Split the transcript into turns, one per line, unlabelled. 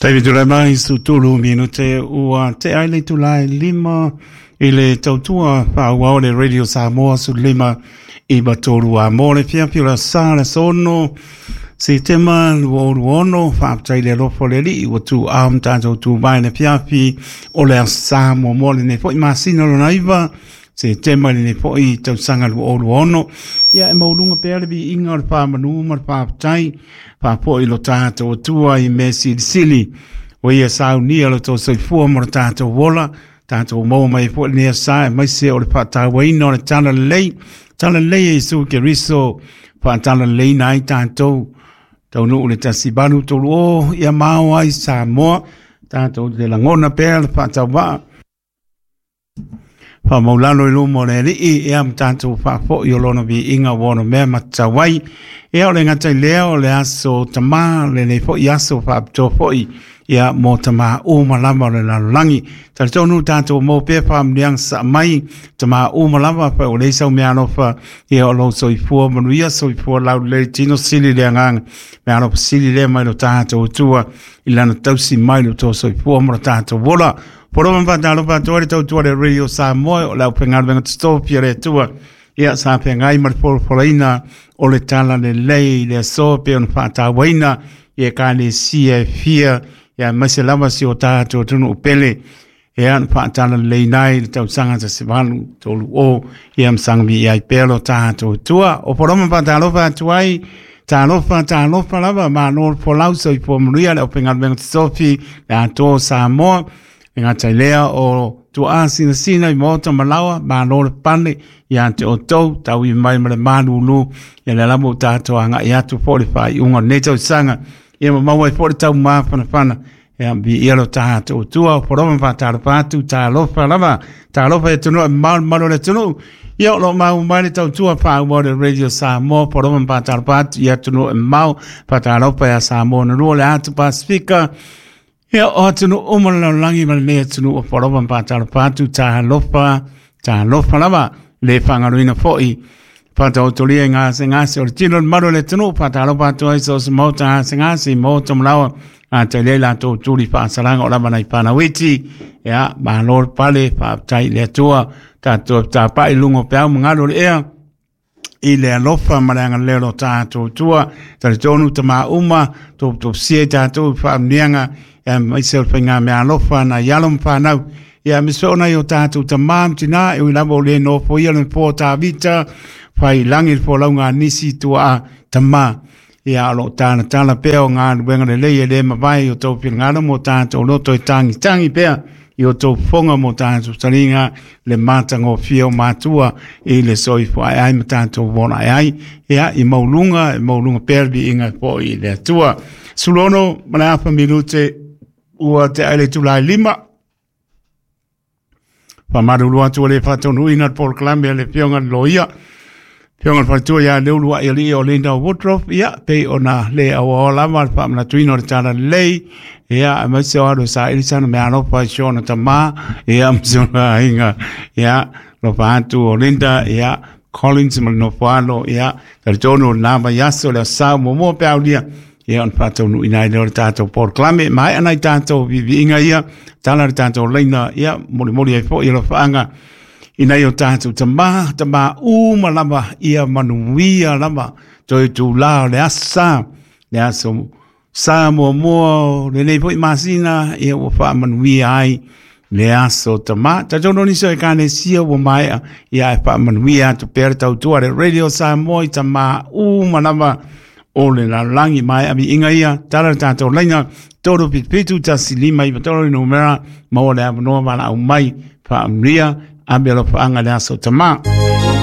Taimi tulai mai 13 minute ua tea ai le itula e 5 i le tautua faaauau le Radio Samoa 15 93 a mo le fiafi o le sa le aso 6 Setema 2026. Faafetai i le alofa o le Alii ua tuuao ma tatou tu mai le fiafi o le aso sa muamua lenei foi masina lona 9 Setema lenei foi tausaga 2026. Ia e maualuga pea le viiga o le faamanu ma le faafetai faapoi lo tatou Atua i mea silisili ua ia saunia lo tou soifua ma lo tatou ola, tatou maua mai foi lenei aso aemaise o le faatauaina o le talalelei, talalelei e Iesu Keriso, faatalaleleiina ai tatou taunuu le 1830 ia mao ai Samoa. Tatou te lagona pea le faatauvaa faamaulalo i luma o le Alii, ia ma tatou faafoi o lona viiga ua ono mea matatau ai. Ia o le gata i lea o le aso tamā, lenei foi aso faapitoa foi ia mo tamā uma lava o le lalolagi. Talitonu tatou maua pea faamanuiaga sasaa mai tamā uma lava, pa o leai sau meaalofa, ia o lou soifua manuia, soifua laulelei, tino sili le agaga, meaalofa sili lea mai lo tatou Atua i lana tausi mai lo tou soifua ma lo tatou ola. Polo ma whātalo whātoa le tautua le Radio Samoa o le aufaigaluega totofi a le Atua. Ia sa feagai ma le folafolaina o le tala lelei i le aso pe ona faatauaina i ekalesia e fia, ia aemaise lava si o tatou atunuu pele. Ia na faatalaleleiina ai le tausaga 1830, ia ma saga ai pea lo tatou Atua. O Polo ma whātalo atu ai, talofa, talofa lava, malo le folau, soifua manuia le aufaigaluega totofi, le atoa o Samoa. E gata i lea o tuaa sinasina i maota ma laoa, malo le pale ia te outou, tau mai ma le malulu, ia le lava o tatou agai atu foi le faaiuga o lenei tausaga, ia ma maua ai foi le taumafanafana, ia viia lo tatou Atua. O Polo ma faatalofa atu, talofa lava, talofa i atunuu e mamao le mamalu o le atunuu. Ia o lo o maua mai le tautua faaauau le Radio Samoa, Polo ma faatalofa atu i atunuu e mamao, faatalofa ia Samoa na lua le atu Pasifika, ia o atunuu uma le lalolagi ma lenei atunuu o Polo ma faatalofa atu, talofa, talofa lava, le faagaloina foi faataotolia i gasegase o le tino le mamalu o le atunuu, faatalofa atu ai so o se maota gasegase i maota ma laoa, a te lea latou tuli faasalaga o lava nai fanau iti, ia malo le pale, faafetai i le Atua, tatou tapai i luga o peau ma galu o le ea, i le alofa ma le agalelei o lo tatou Atua. Talitonu tamā uma, toputopisia i tatou i faamanuiaga, aemaise o le faigameaalofa nai alo ma fanau. Ia aemaise foi o nai o tatou tamā ma tinā, e ui lava o le nofoia le nofoa o Tavita, fai i lagi le folauga a nisi tuaa tamā. Ia o lo o talatala pea o galuega lelei e le mavae i o tou finagalo mo tatou loto e tagitagi pea i o tou fofoga mo tatou taliga le matagofie o matua i le soifua ae ai ma tatou ola ae ai. Ia i mauluga, e mauluga pea le viiga foi i le Atua. 16 ma le 1/2 minute ua tea ai le itula e 5. Faamalulu atu ua le faataunuuina le polokalame a le Afioga i le Loia, Afioga i le Faletua ia Leuluai o Linda Woodruff, ia pei ona le auaoa lava le faamanatuina o le talalelei, ia aemaise o alu e saili sana meaalofa i si ona tamā, ia ma si ona aiga, ia alofa atu o Linda, ia Collins ma le nofo alo, ia talitonu o lena vaiaso le aso Sa muamua pe aulia, ia ona faataunuuina ai lea o le tatou polokalame. Maea nai tatou viiviiga ia, tala le tatou laina, ia molimoli ai foi alofaaga i nai o tatou tamā, tamā uma lava, ia manuia lava toe itulā o le aso Sa, le aso Sa muamua o lenei foi masina, ia ua faamanuia ai le aso tamā. Talitonu nisi o ekalesia ua maea, ia e faamanuia atu pea le tautua le Radio Samoa i tamā uma lava o le lalolagi. Maea viiga ia, tala le tatou laina 377 1593 le numera, maua le avanoa valaau mai, faamanuia, ave alofaaga le aso tamā.